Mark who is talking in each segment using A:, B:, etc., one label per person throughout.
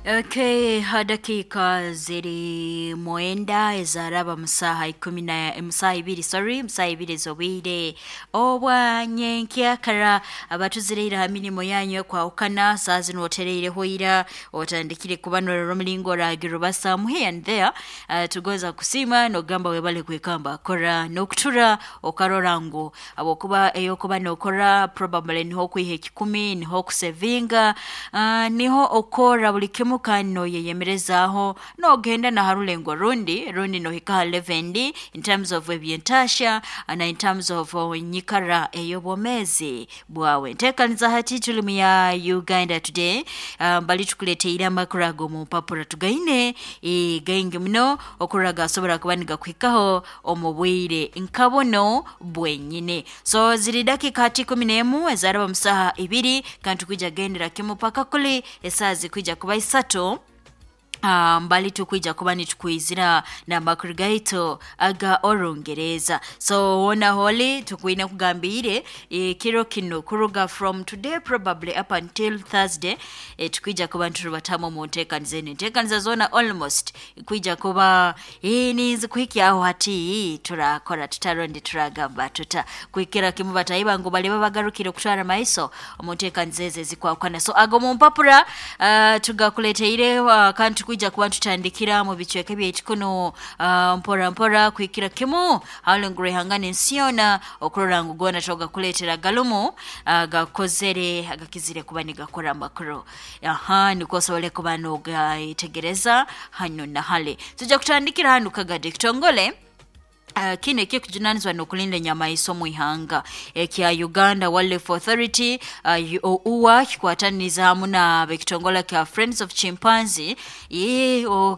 A: Okay, dakika ziri 9 ezaraba musaha ikumi na musaha ibiri, sorry, musaha ibiri z'obwire obwa nyenkyakara. Abatuzireire ha mirimo yanyu ekwahukana, saa zinu otereireho ira otandikire kubanorora omulingo oragira obasamu here and there. Tugonza kusiima nogamba webale kwekamba kora n'okutura okarora ngu habwokuba eyokuba nokora probably niho okwiha ekikumi, niho okusevinga, niho okora buli kimu kandi noyeyemerezaaho nogenda na harulengo rundi rundi nohika ha level endi in terms of ebyentaasha na in terms of enyikara ey'obwomeezi bwawe. Nteekaniza hati tuli mu ya Uganda Today, bali tukuleteire amakuru ag'omu mpapura tugaine gaingi muno okurora gasobora kuba nigakuhikaho omu bwire nka buno bwenyine. So ziri dakika hati 11 ezaraba musaha ibiri, kandi tukwija kugendera kimu paka kuli esaaha zikwija kuba 3. Mbali tukwija kuba nitukwizira n'amakuru gaitu aga Orungereza. So wona holi tukwine kugambiire ekiro kino kuruga from today probably up until Thursday, tukwija kuba nitubatamu omu nteekaniza enu. Enteekaniza zoona almost kwija kuba ninzi kuhikyaho hati turakora tutarondi turagamba tuta kuhikira kimu batayiba ngu baliba bagarukire kutwara maiso omu nteekaniza ezo ezikwahukana. So ago mu mpapura tugakuleteire, kandi tukwija kuba tutandikira mu bicweka byaitu kuno, mpora mpora kuhikira kimu halenguru ihangana ensi yoona okurora ngu goona togakuleetera galumu, gakozere agakizire kuba nigakora amakuru. Aha nikwo osobole kuba nogayetegereza hano na hale. Tujja kutandikira hanu Kagadi ekitongole kino ekikujunanizibwa n'okulinda enyamaiso omu ihanga ekya Uganda Wildlife Authority, UWA, kikwataniriza hamu n'ab'ekitongole kya Friends of Chimpanzee,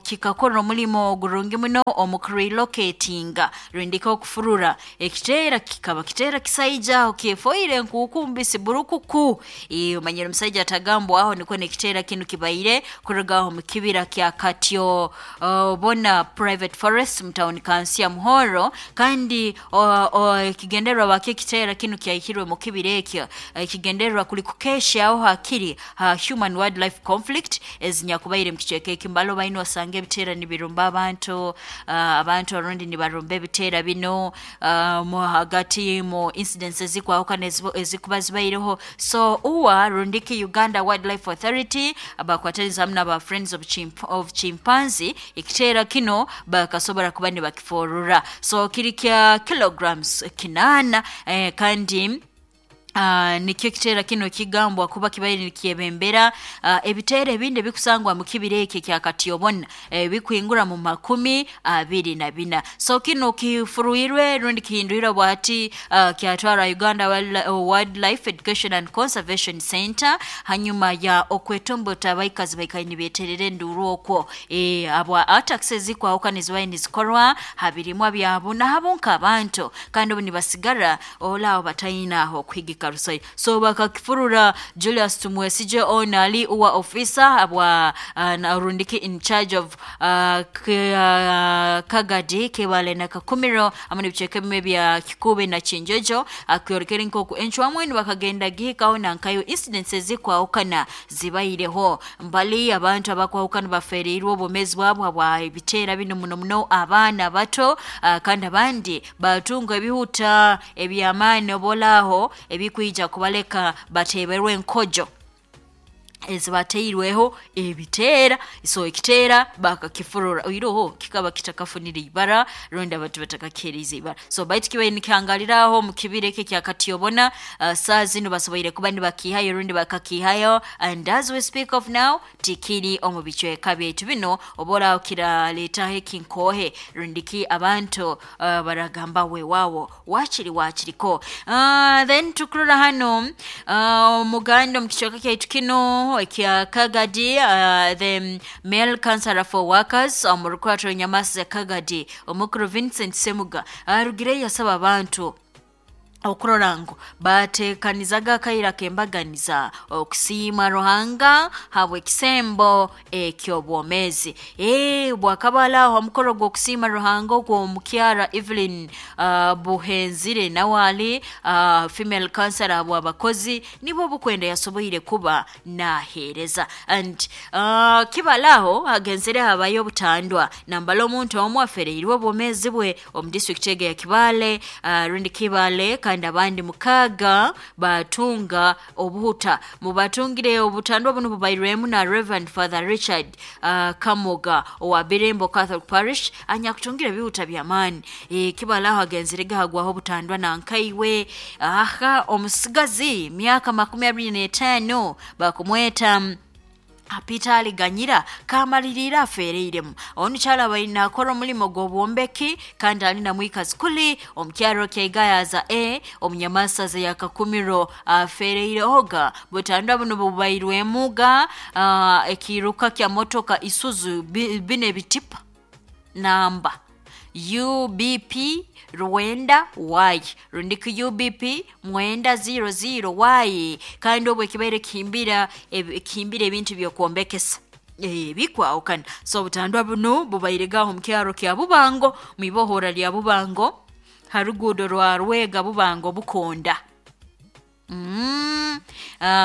A: kikakora omulimo gurungi muno omu kurelocatinga rundika okufurura ekiteera kikaba kiteera kisaija aho kyefoire enkuuku mbisi burukuku. Omanyire omusaija atagambwaho nikwo n'ekiteera kinu kibaire kuruga aho mu kibira kya Katyo Bona Private Forest mu tawuni kansi ya Muhoro, kandi ekigendererwa bakyo ekiteera kinu kyaihirwe mu kibira ekyo, ekigendererwa kuli kukeshaho hakiri ha human wildlife conflict ezinyakubaire mu kicweka eki. Mbalo baine osanga ebiteera nibirumba abantu, abantu orundi nibarumba ebiteera bino, mu hagati mu incidents ezikwahukana ezikuba zibaireho. So UWA rundiki Uganda Wildlife Authority bakwataniza hamu n'aba Friends of Chimpanzee, ekiteera kino bakasobora kuba nibakiforora. So kiri kya kilograms 8, kandi nikyo ekiteera kino kigambwa kuba kibaire nikyebembera ebiteera ebindi ebikusangwa mu kibira ekyo ekya Katyobona bikuhingura mu 24. So kino kifuruirwe rundi kihindwirwe bwati, kyatwara Uganda Wildlife Education and Conservation Center hanyuma ya okwetombota abaikazi baikaire nibeterera enduru okwo, abwa attacks ezikwahukana ezibaire nizikorwa ha birimwa byabo nahabo nk'abantu, kandi obu nibasigara olaaho batayina aho okuhigika rusai. So bakakifurura Julius Tumwesije ono ali uwa officer abwa rundiki in charge of Kagadi, Kibale na Kakumiro hamwe n'ebicweka ebimwe bya Kikube na Kinjojo, akyorekere nk'oku encwamwenu bakagenda gihikaho nankayo incidents ezikwahukana zibaireho mbali abantu abakwahukana bafereirwe obwomeezi bwabo habwa ebiteera bino, muno muno abaana bato, kandi abandi batunga ebihuta eby'amaani obolaaho ebikwija kubaleka bateeberwe enkojo ezibateirweho ebiteera. So ekiteera bakakifurura oiroho kikaba kitakafunire ibara rundi abantu batakakiheerize ibara. So baitu kibaire nikihangaliraho mu kibira eki ekya Katyobona, saa zinu basoboire kuba nibakiihayo rundi bakakiihayo, and as we speak of now tikiri omu bicweka byaitu bino oba kiraleetaho ekinkoohe rundiki abantu baragamba weewaawo wakiri wakiriko. Then tukurora hano omuganda omu kicweka kyaitu kino ekya Kagadi, the male councillor for workers omu rukwato Nyamasi Kagadi, omukuru Vincent Semuga arugireyo yasaba abantu Okurora ngu batekanizaga akaira kembaganiza okusiima Ruhanga habw'ekisembo eky'obwomeezi. Bwakaba aho omukoro gw'okusiima Ruhanga ogw'omukyara Evelyn Buhenzire, nawe ali female counselor habw'abakozi nibwo bukwenda yasoboire kuba naheereza. And kibalaho hagenzere habayo obutandwa nambala omuntu omu afereirwe obwomeezi bwe omu district ege ya Kibale, rundi Kibale, kandi abandi 6 batunga obuhuta. Mubatungire obutandwa buno bubairwemu na Reverend Father Richard Kamoga owa Birembo Catholic Parish anyakutungira ebihuta by'amaani. Kibalaho agenzere gahagwaho obutandwa nankaiwe aha omusigazi myaka 25 bakumweta Peter Aliganyira kamaliriire afereiremu. Onu kyala baina akora omulimo gw'obwombeki kandi ali na mwikazi kuli omukyaro kya Gayaza A omunyamasaza ya Kakumiro afereire oga. Butandwa buno bubairwemuga ekiruka kya motoka Isuzu bine bitipa namba UBP Rwenda Y rundiki UBP mwenda 00 Y, kandi obwo ekibaire kihimbira kihimbira ebintu by'okwombekesa bikwahukana. So obutandwa buno bubaire gaho mu kyaro kya Bubango mwibohora lya Bubango haruguudo rwa Rwega Bubango Bukonda.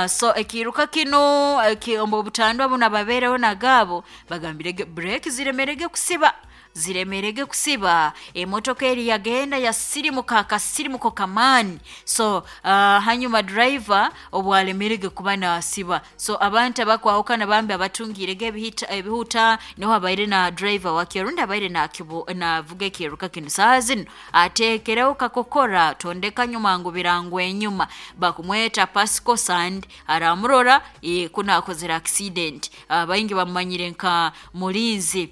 A: So ekiruka kino obutandwa buno ababeereho nagaabo bagambire breki ziremerege kusiba, ziremerege kusiba, emotoka eri yagenda yasirimuka akasirimuko kamaani. So hanyuma driver obwalemerege kuba nasiba, so abantu abakwahukana bambi abatungirege ebihuta niho abaire na driver wakyo rundi abaire navuga ekiruka kino saa zino ateekereho kakokora tondeka nyuma ngu birangwa enyuma, bakumweta Pasco Sand aramurora kuna akozere accident. Baingi bamumanyire nka mulinzi.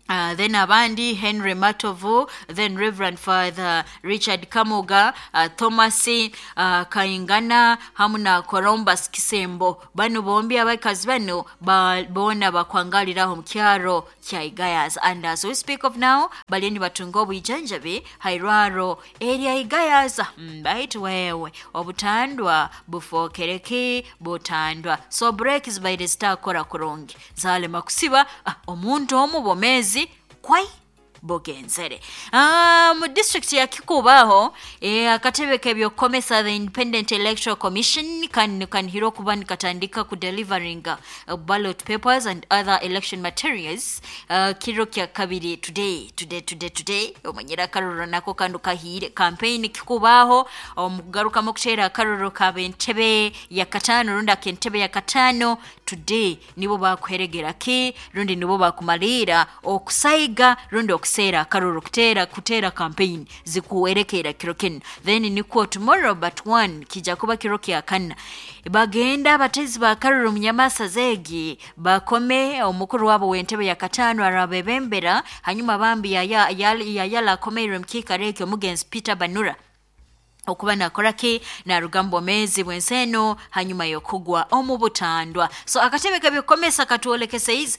A: Then abandi Henry Matovu, then Reverend Father Richard Kamoga, Thomas Kaingana hamu na Columbus Kisembo. Bano bombi abakazi bano bona bakwangaliraho mu kyaro kya Igayaza. And as we speak of now, bali ni batunga obujanjabi hairwaro erya Igayaza. Baitu wewe obutandwa bufokereki butandwa. So break zibaire zitakora kurungi zalema kusiba omuntu omu bomezi kwai bogenzere. Mu district ya Kikubaho akatebe k'ebyokukomesa the Independent Electoral Commission kanihiro kuba nikatandika ku delivering ballot papers and other election materials kiro kya kabiri today omanyira akaroro nako kandi kahire campaign Kikubaho omugarukamu kuteera akaroro kab'entebe ya katano rundi ak'entebe ya katano today nibo bakuheregera ki rundi nibo bakumalira okusaiga rundi okusera akaroro kutera campaign zikuwerekera kiro kino. Then nikuo tomorrow but one kija kuba kiro kya kana bagenda abatezi ba karoro munyamasa zegi bakome omukuru wabo w'entebe ya katano arabebembera hanyuma bambi yayala akomeire mukika omugenzi Peter Banura okuba nakoraki narugambo mezi bwenseno hanyuma yokugwa omu butandwa. So akatebe kabyokomesa katwolekesa izi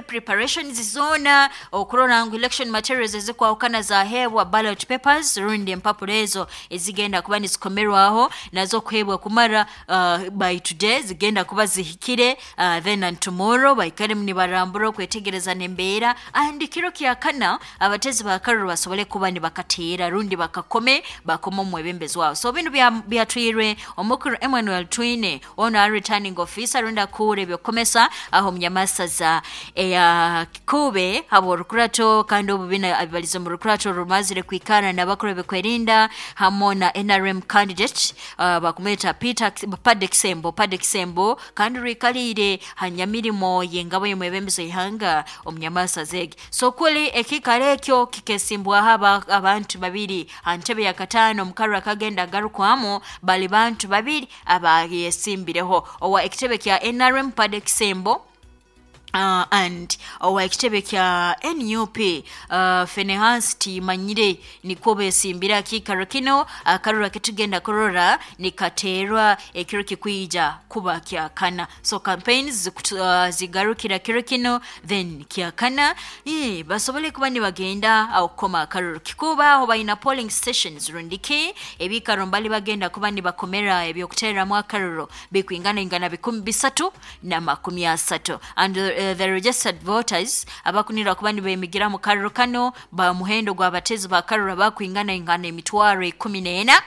A: preparations zona okurora ngu election materials ezikwahukana zahebwa ballot papers rundi empapuro ezo ezigenda kuba nizikomerwaho nazo kuhebwa kumara by today zigenda kuba zihikire, then and tomorrow baikare nibarambura okwetegereza nembeera and kiro kya kana abatezi ba karoro basobole kuba nibakateera rundi bakakome bakoma omwebembezi wao. So bino byatwirwe omukuru Emmanuel Twine ono ari returning officer rundi akure byokomesa aho munyamasaza eya Kikube habo rukurato kandi obubina abibalizo mu rukurato rumazire kwikana n'abakuru bekwerinda hamo na NRM candidate bakumeta Peter Padexembo kandi rikalire hanyamirimo yengabo yemwebembezo ihanga omunyamasaza egi. So kuli ekikare ekyo kikesimbwa haba abantu babiri antebe ya katano mukarra kagenda garukwamo bali bantu babiri abayesimbireho owa ekitebe kya NRM Padexembo. And owa ekitebe kya NUP Finehas Timanyire nikwo besimbira kiikaro kino. Akarura ketugenda kurora nikaterwa ekiro kikwija kuba kyakana. So campaigns zigarukira kiro kino, then kyakana basobole kuba nibagenda okukoma akaruru kikuba aho balina polling stations rundiki ebikaro mbali bagenda kuba nibakomera ebyokuteramu akaruru bikwingana ingana 330. And the registered voters abakunira kuba nibemigira mu karuru kano ba muhendo gw'abatezi ba karuru abakwingana ingana 14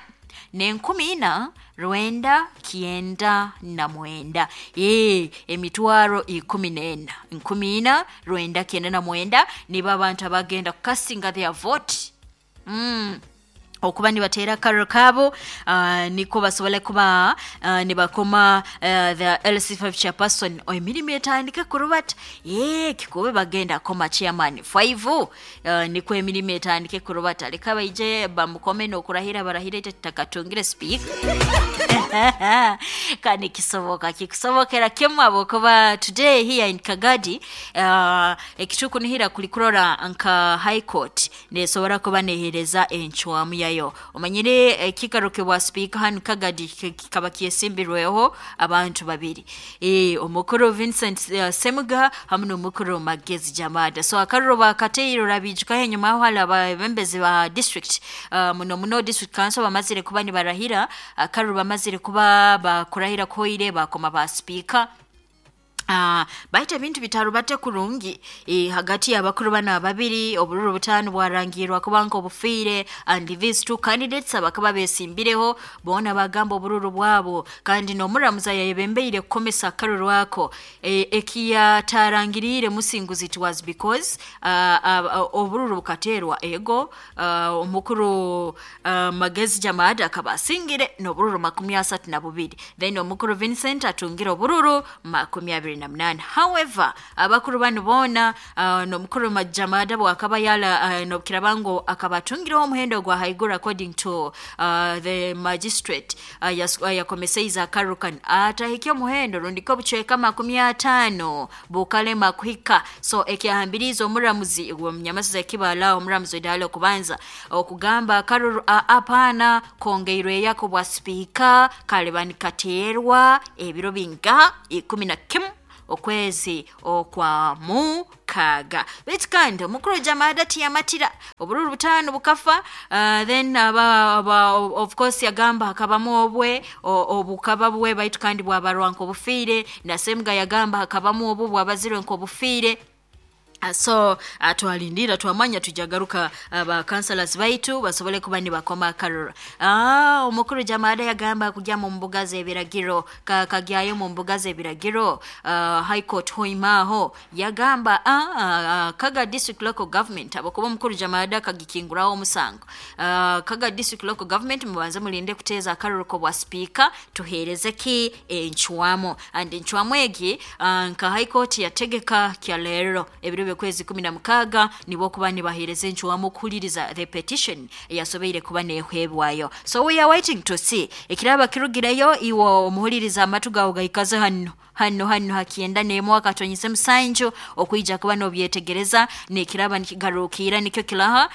A: 4,999. 14 4,999 nibo abantu abagenda kukasinga their vote okuba nibatera akaruru kabo, niko basobole kuba nibakoma the LC5 chairperson emirimu etandike kurubata. Kikube bagenda koma chairman 5, niko emirimu etandike kurubata, leka baije bamukome n'okurahira barahire takatungire speak kandi kisoboka kikusobokera kimu abokuba today here in Kagadi. Ekitukunihira kulikurora nka High Court nesobora kuba nehereza encwamu yayo. Omanyire ekikaro bwa speaker hanu Kagadi kikaba kyesimbirweho abantu babiri, omukuru Vincent Semuga hamwe n'omukuru Magezi Jamada. So akaruro bakateiro rabijukaho enyuma aho hali ababembezi ba district, muno muno district council bamazire kuba nibarahira akaruro, bamazire kuba bakurahira koire bakoma ba speaker. Baita ebintu bitarubate kurungi hagati y'abakuru bana babiri. Obururu butano bwarangirwa kubanga obufiire, and these two candidates abakaba besimbireho bona bagamba obururu bwabo, kandi n'omuramuza yayebembeire kukomesa akaruru ako ekiyatarangirire musinguzi. It was because obururu bukaterwa ego, omukuru Magezi Jamada akaba asingire n'obururu 32, then omukuru Vincent atungire obururu 28. However, abakuru bano bona, n'omukuru Jamada bwakaba yala, nobukirabango akaba atungireho omuhendo gwa haiguru according to the magistrate, yakomeseiza akarukan atahikya omuhendo rundiko obucweka 50 bukalema kuhika. So ekyahambiriza omuramuzi munyamasiza ekibala omuramuzi edala okubanza okugamba akaruru apana kongeirwe yako bwa speaker kaleba nikaterwa ebiro binga 11 okwezi okwa mukaga. Baitu kandi omukuru Jamada tiyamatira, obururu butano bukafa, then of course yagamba hakabamu obwe obukaba bwe, baitu kandi bwabarwa nk'obufiire, na Semuga yagamba hakabamu obu bwabazirwe nk'obufiire. So twalindira twamanya tujagaruka ba councillors baitu basobole kuba nibakoma akarura. Omukuru Jamada yagamba kujya mu mbuga z'ebiragiro, kagyayo mu mbuga z'ebiragiro, High Court hoimaho yagamba Kaga District Local Government abakuba omukuru Jamada kagikinguraho omusango, Kaga District Local Government mubanze mulinde kuteeza akaruru ko bwa speaker tuhereze ki encwamo. And encwamo egi nka High Court yategeka kya lero ebiro kwezi 16 nibo kuba nibahereza encwamu kuhuliriza the petition yasobeire kuba nehwebwayo. So we are waiting to see ekiraba kirugireyo. Iwo omuhuliriza amatu gawe gaikaze hano hano hano hakienda nemo akatonyise musanju okuija kuba nobyetegereza nekiraba nikigarukira nikyo kilaha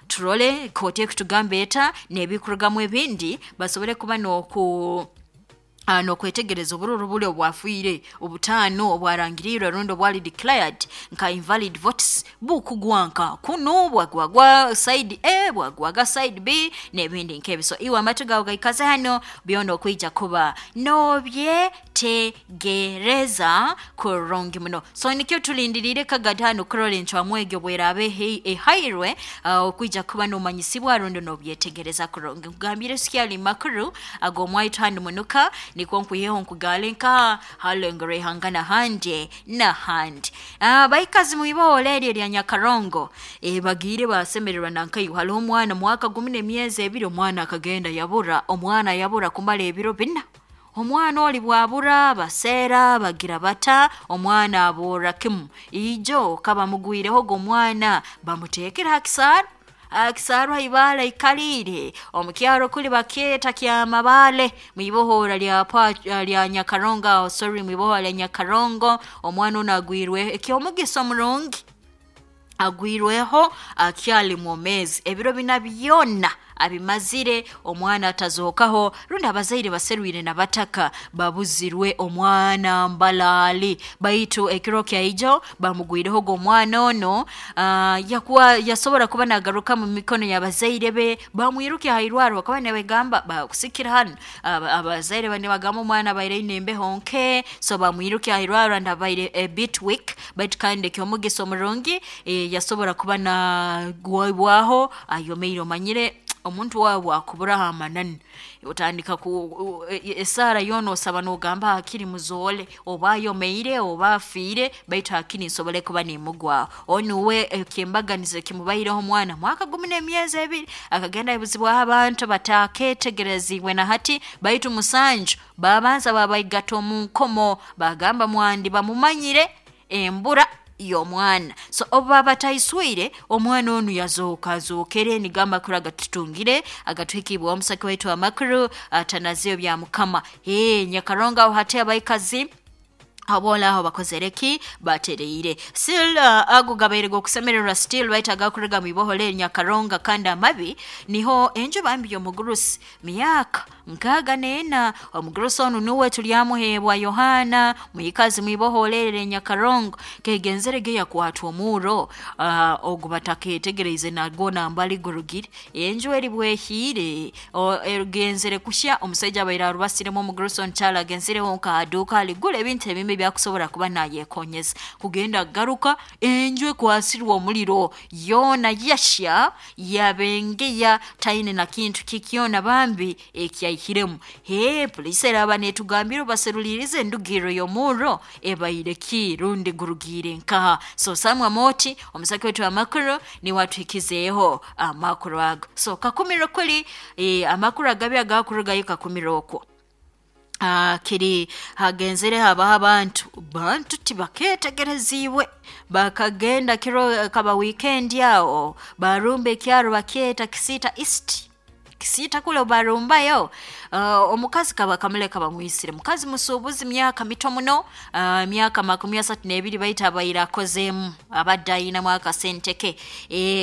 A: turole kooti ekutugamba eta nebikurugamu ebindi basobole kuba noku nokwetegereza obururu buli obwafiire obutano obwarangirirwe rundi obwali declared nka invalid votes bukugwanka kuno bwagwagwa side A bwagwaga side B n'ebindi nk'ebyo. So iwe amatu gawe gaikaze hano byona okwija kuba nobyetegereza kurungi muno. So nikyo tulindirire Kagadi hano kurora encwamu egyo bwerabe ehairwe, okwija kuba nomanyisibwa rundi nobyetegereza kurungi. Nkugambire sikyali makuru ag'omwaitu hano munuka nikwo nkwiheho nkugale nka halengere ihanga nahandi nahandi. Baikazi muiboole eryo erya Nyakarongo, bagire basemererwa nankayo. Haliho omwana mwaka 12 omwana akagenda yabura, omwana yabura kumara ebiro 4. Omwana oli bwabura baseera bagira bata omwana abura kimu ijo kaba mugwireho go omwana bamutekera hakisaaro. Akisarwa ibala ikalire omukyaro kuli bakyeta kya mabale mwibohora lya lya Nyakarongo, sorry, mwibohora lya Nyakarongo. Omwana ono agwirwe ekyomugiso murungi, agwirweho akyali mwomezi, ebiro bina byona abimazire omwana atazokaho, rundi abazaire baserwire nabataka babuzirwe omwana mbalali. Baitu ekiro kyaijo bamugwireho omwana ono, yakuwa yasobora kuba nagaruka mu mikono y'abazaire be, bamwiruke hairwaro bakaba nibagamba bakusikira hano. Abazaire bane bagamba omwana abaire aine embeho nke, so bamwiruke hairwaro and abaire a bit weak, baitu kandi ekyomugiso omurungi yasobora kuba nagwibwaho ayomeire. Omanyire omuntu wawe bwakuburaho amanani otandika ku esaara yoona osaba nogamba hakiri muzoole, oba ayomeire oba afiire, baitu hakiri nsobole kuba nimugwaho. Onuwe ekyembaganizo ekimubaireho omwana mwaka gumu n'emyezi 2 akagenda ayebuzibwaho abantu bataketegerezibwe na hati, baitu 7 babanza babaigata omu nkomo, bagamba mwandi bamumanyire embura y'omwana. So obu bataiswire omwana onu yazooka azookere, nigamba amakuru agatutungire agatuhikibwa omusaki waitu amakuru atanaziyo bya mukama. Nyakarongo aho hati abaikazi abola aho bakozereki batereire still, ago gabaire gokusemererwa still baitu agakurega mwibohole Nyakaronga. Kandi amabi niho enju bambi y'omugurusi myaka 64, omugurusi onu nuwe tulyamuhebwa Yohana mwikazi mwiboholere Nyakarongo, kegenzere ge yakwatwa omuro ogu bataketegereze nago nambali gurugire enju eri bwehire erugenzere kushya. Omusaija abaire arubasiremu omugurusi onu kyala agenzireho nka aduka aligura ebintu ebimwe byakusobora kuba nayekonyeza, kugenda garuka enju ekwasirwe omuliro yoona yashya yabengeya, taine na kintu kikyona bambi ekyaihiremu. Polisi eraba netugambira baserulirize endugiro y'omurro ebaire ki rundi gurugire nkaha. So Samuel Moti omusaki wetu amakuru niwe atuhikizeeho amakuru ago. So kakumiro kuli amakuru agabi agakurugayo kakumiro okwo kiri hagenzere habaho abantu bantu tibaketegereziibwe, bakagenda kiro kaba weekend aho barumba ekyaro bakyeta Kisita East, Kisita kule barumbayo. Omukazi kaba kamuleka bamwisire, mukazi musuubuzi myaka mito muno, myaka 32, baitu abaire akozemu abadde ayinamu akasente ke.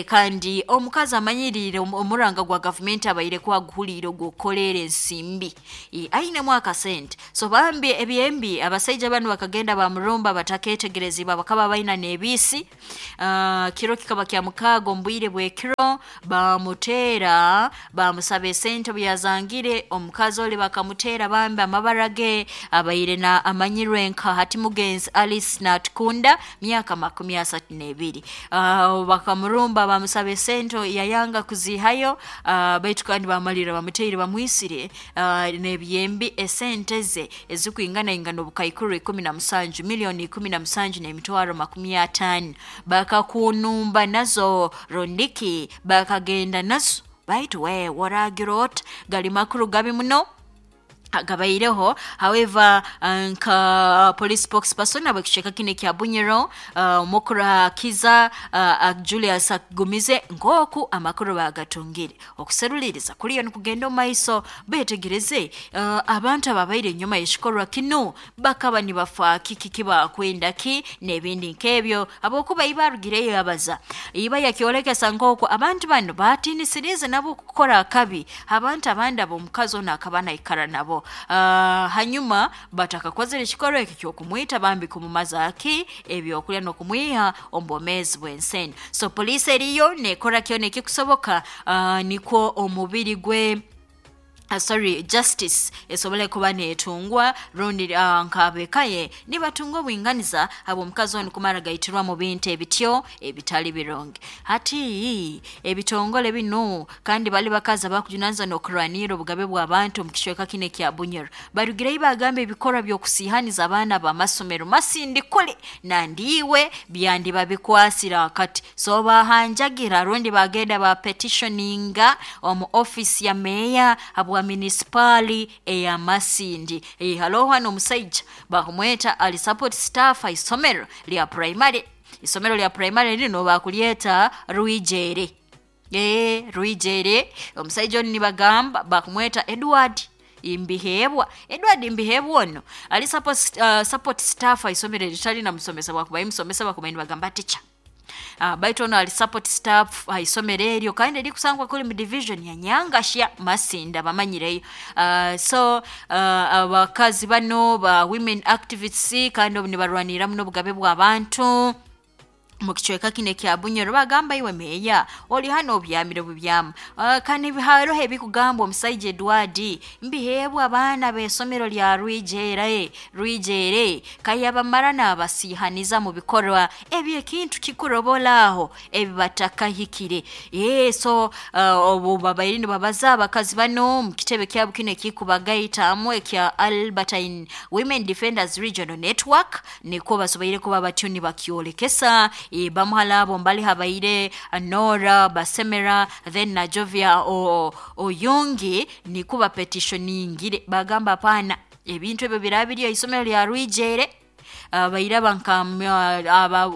A: Kandi omukazi amanyirire omuranga gwa gavumenti abaire kwaguhuliire ogw'okukoleera ensimbi, ayinemu akasente. So bambi ebyembi abasaija banu bakagenda bamurumba bataketegerezibwa, bakaba baina n'ebiisi. Kiro kikaba kya mukaaga omu bwire bw'ekiro, bamuteera bamusaba esente obu yazangire omukazi oli bakamuteera bambi amabara ge abaire na amanyirwe nka hati mugenzi Alice Natukunda myaka 32. Bakamurumba bamusaba esente yayanga kuzihayo, baitu kandi bamalira bamuteire bamwisire n'ebyembi esente ze ezikwingana ingana obukaikuru 17, miliyoni 17 n'emitwaro 50, bakakunumba nazo rondiki bakagenda nazo. Baitu we waragira ota, gali makuru gabi muno gabaireho. However, nka police spokesperson abekiceka kino ekya Bunyoro, omukuru Kiza Julius akugumize nk'oku amakuru bagatungire okuseruliriza kuriyo nikugenda omu maiso, betegereze abantu ababaire enyuma y'ekikorwa kinu bakaba nibafa kiki kibakwenda ki n'ebindi nk'ebyo, habwokuba iba arugireyo yabaza iba yakyolekesa nk'oku abantu bano batiinisirize nabo kukora akabi abantu abandi ab'omukazi ono akaba naikara nabo. Hanyuma batakakozere ekikorwa eki ky'okumwita bambi kumumaza ki ebyokulya n'okumwiha omu bwomeezi bw'enseni. So poliisi eriyo nekora kyona ekikusoboka, nikwo omubiri gwe, sorry, justice esobole kuba netungwa rundi nk'abekaye nibatunga obwinganiza habw'omukazi onu kumara gaitirwa mu bintu ebityo ebitali birungi. Hati ebitongole binu kandi bali bakazi abakujunanizibwa n'okurwanirra obugabe bw'abantu omu kicweka kino ekya Bunyoro barugireyo bagamba ebikorwa by'okusihaniza abaana b'amasomero masindi kuli nandiiwe byandiba bikwasire akati. So bahanjagira rundi bagenda ba petitioninga omu office ya meya habwa munisipaali eya Masindi. Haloho hano omusaija bakumweta ali support staff isomero lya primary, isomero lya primary lino bakulyeta Rwijere. Rwijere omusaija onu nibagamba bakumweta Edward Mbihebwa. Edward Mbihebwa ono ali support staff aisomero eritali na musomesa, bwakuba imusomesa bakuba nibagamba teacher. Baitu ono ali support staff haisomero eryo kandi erikusangwa kuli mu division ya Nyangashya Masinda bamanyireyo. So abakazi bano ba women activists kandi obu nibarwanirira muno obugabe bw'abantu mu kicweka kino ekya Bunyoro, bagamba iwe meeya oli hano obyamire bubyamu. Kandi haroho ebikugambwa omusaija Edward Mbihebwa abaana b'esomero lya Rwijere kayabamara n'abasiihaniza mu bikorwa eby'ekintu kikurobola aho ebi batakahikire. So obu babaire nibabaza abakazi bano mu kitebe kyabo kino ekikubagaitamu ekya Albertine Women Defenders Regional Network, nikwo basoboire kuba batyo nibakyolekesa. Bamuhala abo mbali habaire Nora Basemera then na Jovia Oyungi nikuba petitioningire bagamba hapana ebintu ebyo birabiri isomero lya Rwijere. Bairaba nka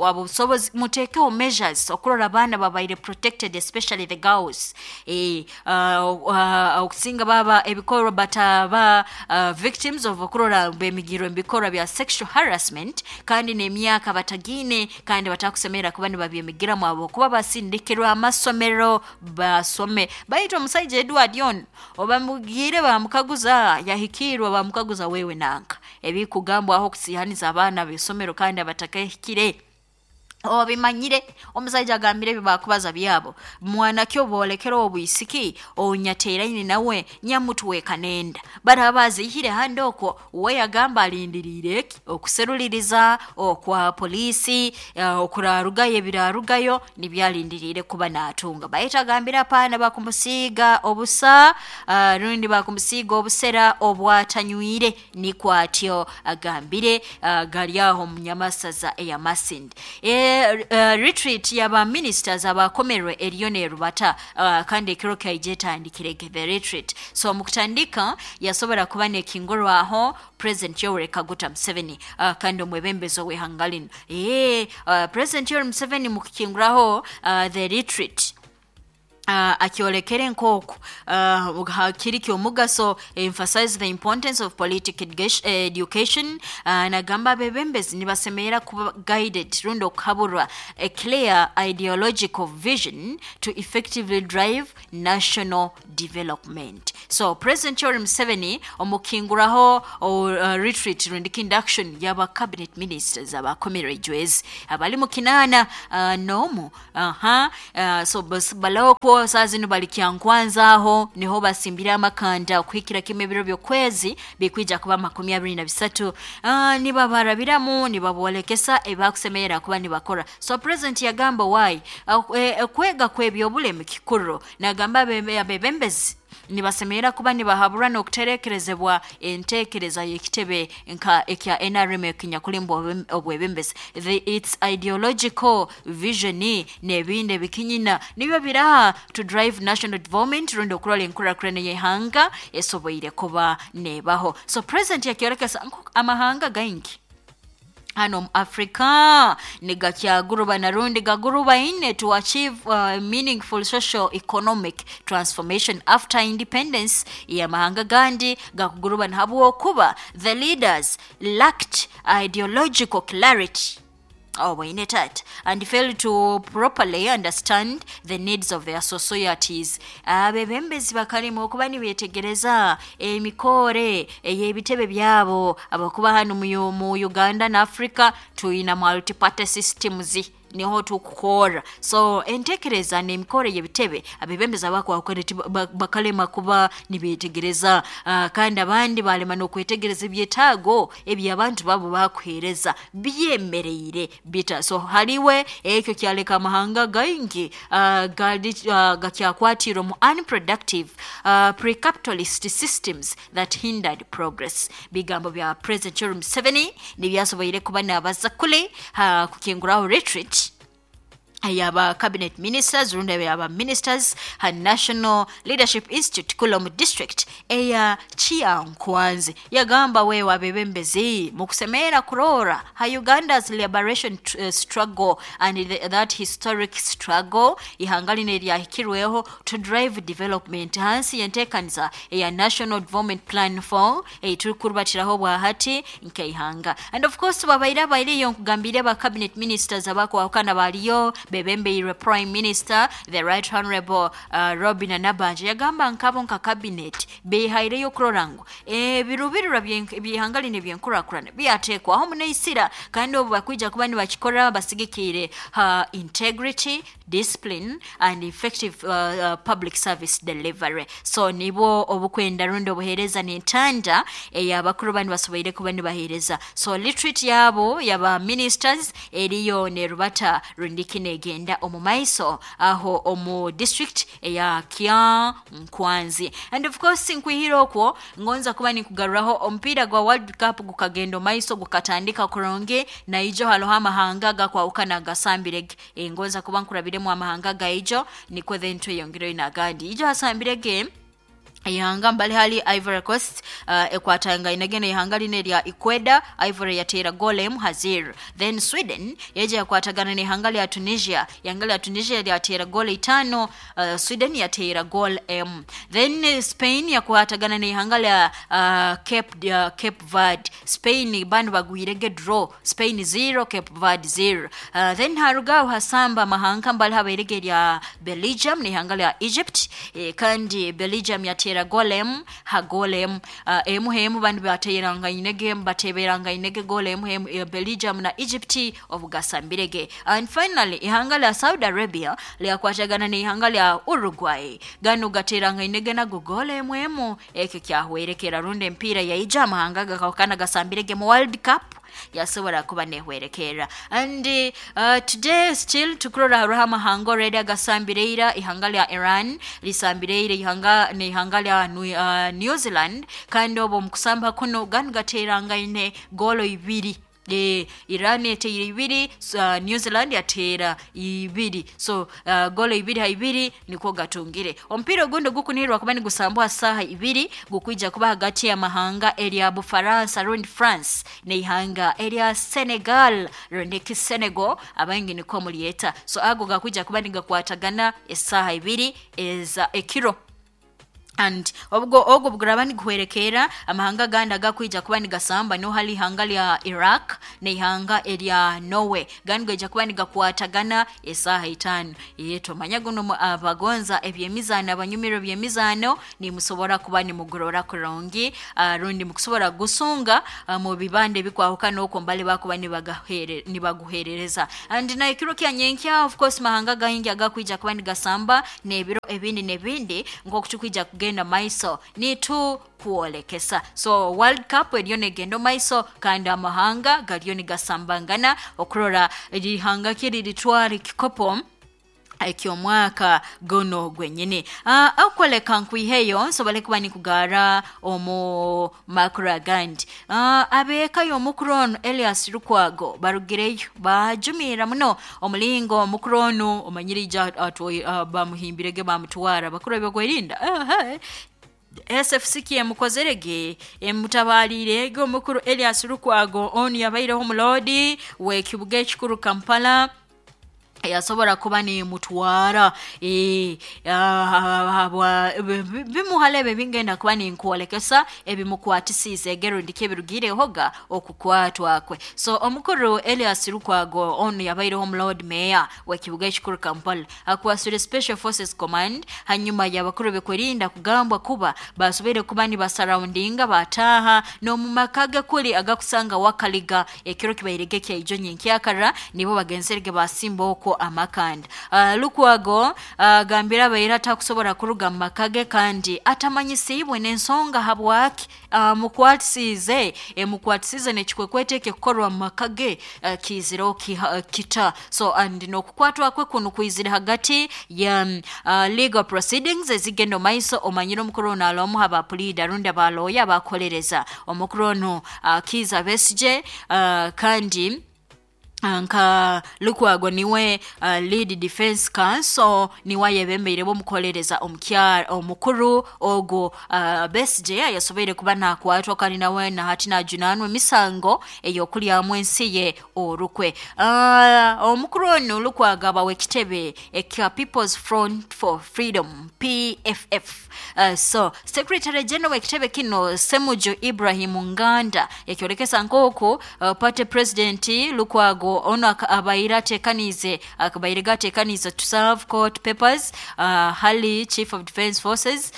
A: abusobozi mutekeho measures okurora abaana babaire protected, especially the girls. Okusinga baba ebikorwa bataba victims of okurora bemigirwe ebikorwa bya sexual harassment, kandi n'emyaka batagine kandi batakusemera kuba nibabyemigiramu abo kuba basindikirwa amasomero basome. Baitu omusaija Edward ono obamugire bamukaguza yahikirwa bamukaguza wewe nanka ebikugambwaho okusihaniza abaana b'isomero kandi abatakahikire obimanyire. Omusaija agambire ebi bakubaza byabo mwana kyo bolekera obwisiki onyateeraine nawe nyamutweka nenda baraba bazihire handi okwo we yagamba alindiriire eki okuseruliriza okwa polisi, okurarugayo ebirarugayo nibyalindiriire kuba natunga. Baitu agambire apaana bakumusiiga obusa, rundi bakumusiiga obusera obwatanywire, nikwo atyo agambire. Gari aho mu Nyamasaza eya Masindi. Retreat yaba ministers abakomerwe eriyo nerubata, kandi ekiro kyaije etandikirege the retreat. So mukutandika yasobora kuba nekingurwaho President Yoweri Kaguta Museveni, kandi omwebembezi ow'ihanga lino. President Yoweri Museveni mukukinguraho the retreat akyolekere nk'oku kiri ky'omugaso, emphasize the importance of political education. Nagamba abebembezi nibasemerera kuba guided rundi okuhaburwa a clear ideological vision to effectively drive national development. So President Yoweri Museveni omukinguraho retreat rundi induction y'aba cabinet ministers abakomere ejwezi abali mu 8 n'omu. So baloko saa zino bali Kyankwanza aho niho basimbire amakanda okuhikira kimwe ebiro by'okwezi bikwija kuba 23. Nibabarabiramu nibabolekesa ebakusemerera kuba nibakora. So President yagamba why kwega kw'ebyobulemi kikuru, nagamba abebembezi nibasemerera kuba nibahabura n'okuterekerezebwa entekereza y'ekitebe nka ekya NRM ekinyakulimbwa obwebembezi, its ideological vision n'ebindi ebikinyina nibyo biraha to drive national development rundi okurora enkurakurana y'ihanga esoboire kuba nebaho. So President yakyorekesa amahanga gaingi hano mu Africa nigakyaguruba na rundi gaguruba ine to achieve meaningful social economic transformation after independence. Yamahanga gandi gakuguruba habwokuba the leaders lacked ideological clarity and failed to properly understand the needs of their societies. Abebembezi bakalima okuba nibetegereza emikore ey'ebitebe byabo abakuba hano mu Uganda na Africa tuyina multi-party systems niho tukukora. So entekereza n'emikore y'ebitebe abebembezi bakalema kuba nibetegereza, kandi abandi balema n'okwetegereza ebyetaago eby'abantu babo bakuheereza byemereire bita. So haliwe ekyo kyaleka amahanga gaingi gakyakwatira mu unproductive pre-capitalist systems that hindered progress. Bigambo bya President Yoweri Museveni nibyasoboire kuba nabaza kule kukinguraho retreat Yaba cabinet ministers rundi yaba ministers ha National Leadership Institute kula mu district eya Kyankwanzi. Yagamba wewe abebembezi mukusemera kurora ha Uganda's liberation struggle and that historic struggle ihanga line lyahikirweho to drive development hansi yentekanisa eya National Development Plan 4 eitukurubatiraho bwahati nkeihanga. And of course babaire bairiyo nkugambire ba cabinet ministers abakwahukana baliyo bebembeirwe Prime Minister the Right Honorable Robin Nabanja. Yagamba nkabo nka cabinet behaireyo kurora ngu ebirubirirwa by'ihanga line byenkurakurana byatekwaho muneisira, kandi obu bakwija kuba nibakikora basigikire ha integrity, discipline and effective public service delivery. So nibo obukwenda rundi obuhereza n'entanda ey'abakuru bani basoboire kuba nibahereza. So retreat yabo yaba ministers eriyo nerubata rundiki negenda omu maiso aho omu district eya Kyankwanzi. And of course nkwihira okwo ngonza kuba nikugaruraho omupiira gwa World Cup gukagenda maiso gukatandika kurungi, na ijo haloho amahanga gakwahukana gasambirege. Ngonza kuba nkurabiremu amahanga gaijo nikwo then tweyongereyo n'agandi. Ijo hasambirege ihanga mbali hali Ivory Coast ekwatanga inagene ihanga line lya Ecuador, Ivory yatera goal emu hazir. Then Sweden yeje yakwatagana n'ihanga lya Tunisia, ihanga lya Tunisia lyatera goal 5, Sweden yatera goal emu. Then Spain yakwatagana n'ihanga lya Cape Verde. Spain bandu bagwirege draw, Spain 0 Cape Verde 0. Then harugaho hasamba mahanga mbali habairege lya Belgium n'ihanga lya Egypt, kandi Belgium yatera golem ha golem emu hemu bandu bateranga inege bateberanga inege golem hemu Belgium na Egypt obugasambirege. And finally ihanga lya Saudi Arabia lyakwatagana n'ihanga lya Uruguay, gano gateranga inege nago golem hemu eke kyahwerekera rundi empira yaija amahanga gakakana gasambirege mu World Cup yasobora kuba nehwerekera. And today still tukurora haruho amahanga already agasambireira ihanga lya Iran lisambireire ihanga n'ihanga lya New Zealand, kandi obo mukusamba kuno ganu gateranga ine golo 2. Iran yateera 2, New Zealand yateera 2. So golo 2 ha 2 niko gatungire. Omupiira ogundi gukunirwa kuba nigusambwa saha 2 gukwija kuba hagati ya mahanga erya Bufaransa rundi France n'ihanga erya Senegal rundi ki Senegal abangi niko mulyeta. So ago gakwija kuba nigakwatagana esaha 2 eza ekiro. And obwo ogwo buguraba niguhwerekera amahanga gandi agakwija kuba nigasamba no hali ihanga lya Iraq n'ihanga erya Norway gandi gaija kuba nigakwatagana esaha 5. Tomanya guno abagonza ebyemizano abanyumiro byemizano nimusobora kuba nimugorora kurungi, rundi mukusobora gusunga mu bibande bikwahukana okwo mbali bakuba nibaguherereza. And na ekiro kya nyenkya of course mahanga gaingi agakwija kuba nigasamba n'ebiro ebindi n'ebindi nk'okutukwija kugenda maiso nitu kuolekesa. So World Cup eriyo negenda maiso kandi amahanga gariyo nigasambangana okurora erihanga kiri litwara ekikopo eky'omwaka gono gwenyini. Akoleka nkwiheyo nsobole kuba nikugara omu makuru agandi. Abeeka y'omukuru ono Elias Lukwago barugireyo bajumira muno omulingo omukuru ono omanyire ija bamuhimbirege bamutwara bakuru ebyokwerinda. SFC emukozerege emutabalirege omukuru Elias Lukwago ono yabaireho omulodi w'ekibuga ekikuru Kampala yasobora kuba ni mutwara bimuhalebe bingenda kuba ni nkuolekesa ebimukwatisize egero ndike birugirehoga okukwatwa kwe. So omukuru Elias Lukwago ono yabaireho omulord mayor w'ekibuga ekikuru Kampala akwasire Special Forces Command hanyuma y'abakuru bekwerinda kugambwa kuba basobere kuba ni basurroundinga bataha no mu maka kuli agakusanga wakaliga ekiro kibairege kya ijo nyenkyakara nibo bagenzerege basimba okwo amakanda. Lukwago gambira abaira atakusobora kuruga mu makage kandi atamanyisibwe n'ensonga habwaki mukwatisize mukwatisize n'ekikwekwete ekikukorwa mu makage kiziro kita. So and n'okukwatwa kwe kuno kwizire hagati ya legal proceedings ezigenda maiso omanyire omukuru ono alomu abapulida rundi abaloya abakolereza omukuru ono Kiza Besigye kandi Nka Lukwago niwe lead defense counsel, niwe ayebembeire bomukolereza omukyara omukuru ogu Besigye yasoboire kuba nakwatwa, kandi nawe nahati najunanwa emisango ey'okulyamu ensi ye orukwe. Omukuru onu Lukwago aba w'ekitebe ekya People's Front for Freedom, PFF. So secretary general w'ekitebe kino, Semuju Ibrahim Nganda, yakyolekesa nk'oku party president Lukwago ono abaire atekaniize, akabaire gatekaniize to serve court papers hali chief of defense forces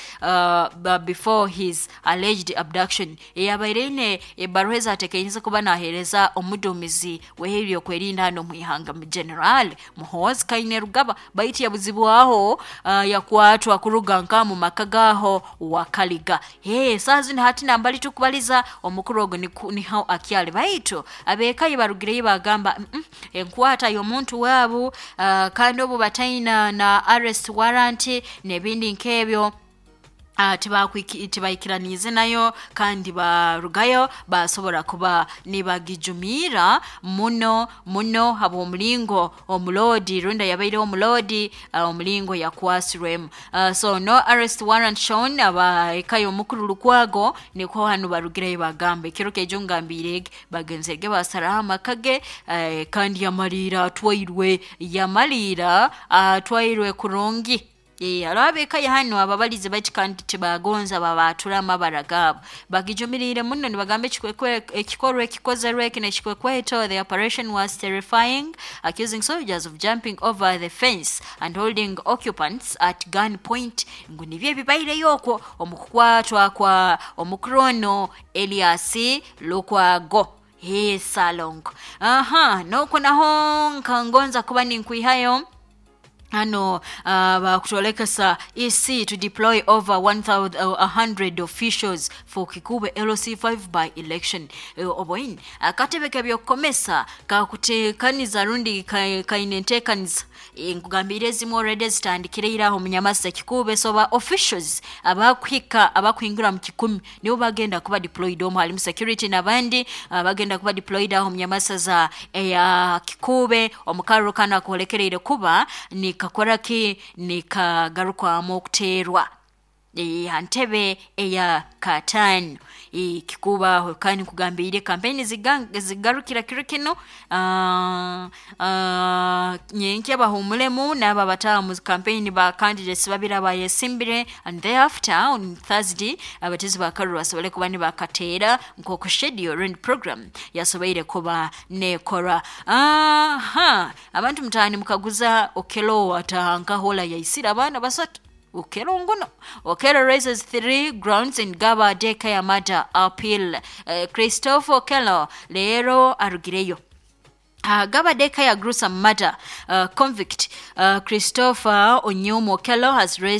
A: before his alleged abduction. Yabaire ine ebaruha ezatekaniize kuba naheereza omuduumizi w'ebyokwerinda hano omu ihanga, General Muhoozi Kainerugaba, baitu yabuzibwaho, yakwatwa kuruga nka mu maka gaho Wakaliga. Hey, saa zino hati nambali tukubaliza omukuru ogu niho akyali, baitu abekayi barugireyo bagamba enkwata y'omuntu waabo, kandi obu bataina na arrest warrant n'ebindi nk'ebyo, tibaikiraniize nayo, kandi barugayo basobora kuba nibagijumiira muno muno habw'omulingo omuloodi runda yabaireho omuloodi, omulingo yakwasirwemu. So no arrest warrant shown, aba eka y'omukuru Lukwago niko hanu barugireyo bagamba ekiro kejo ngambiire bagenzerege basaraho amaka ge, kandi yamaliira atwairwe, yamaliira atwairwe kurungi. Hariho ab'eka ya hanu ababalize bati kandi tibagonza babatura amabara gaabo, bagijumiriire muno nibagamba ekikorwa ekikozerwe eki nekikwekweto. The operation was terrifying, accusing soldiers of jumping over the fence and holding occupants at gun point, ngu nibyo ebibaireyo okwo omu kukwatwa kwa omukuru ono Elias Lukwago. He salongo aha nokwo naho nkangonza kuba ninkwihayo hano, bakutwolekesa EC to deploy over 1100 officials for Kikube LC5 by election. Oboin akatebe kebyokukomesa kakutekaniza rundi kaine entekaniza, nkugambire ezimu already zitandikire iraho munyamasa Kikube. So ba officials abakuhika abakuhingura mu 100 nibo bagenda kuba deployed omu, halimu security n'abandi, bagenda kuba deployed aho munyamasa za eya Kikube omukaruro kano akolekereire kuba nikakora ki nikagarukwamu okuteerwa ha ntebe eya kataano kikubaho. Kandi nkugambiire kampeni zigarukira kiro kino, nyenkya bahumulemu n'abo abataaha mu kampeni ba candidates babiri abayesimbire, and thereafter on Thursday abatezi ba karuru basobole kuba nibakateera nk'oku schedule and program yasoboire kuba nekora. Aha abantu mutaani mukaguza Okelo ataha nkahola yaisire abaana basatu. Okelo nguno Okelo raises three grounds in Gaba daycare murder appeal. Christopher Okelo leero arugireyo. Gaba Daycare gruesome murder convict Christopher Onyumu Okello has raised